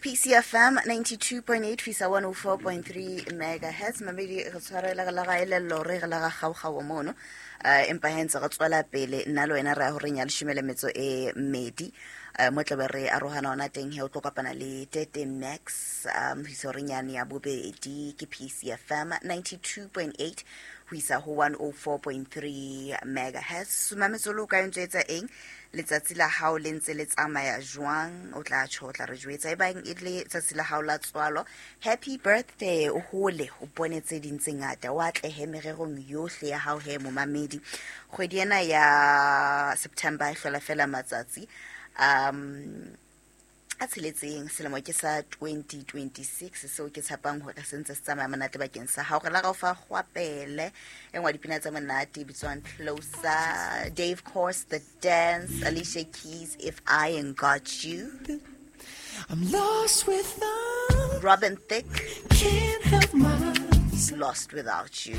PCFM 92.8 fisa 104.3 megahertz. Mamedi re tshwarela re la ga elello re re la ga kgaokgao mono. Empa he ntse re tswela pele nna le wena re ya horeng ya leshome le metso e mmedi. Mo tlabe re arohana ona teng he o tlo kopana le Tete Max ho isa horeng yane ya bobedi ke PCFM 92.8 ho isa ho 104.3 megahertz. Mametsolo o ka ntse etsa eng? Letsatsi la hao le ntse le tsamaya jwang? O tla tjho, o tla re jwetsa e bang e le tsatsi la hao la tswalo. Happy birthday, o hole o bone tse ding tse ngata, o atlehe mererong yohle ya hao he momamedi. Kgwedi ena ya September e hlola fela matsatsi a tsheletseng, selemo ke sa 2026 seo ke tshepang hore se ntse se tsamaya monate bakeng sa hao. Re la ga o fa kgwapele e nngwe ya dipina tse monate e bitswang Closer, Dave Course, The Dance, Alicia Keys, If I Ain't Got You. I'm lost without Robin Thicke, Can't help myself. Lost Without You.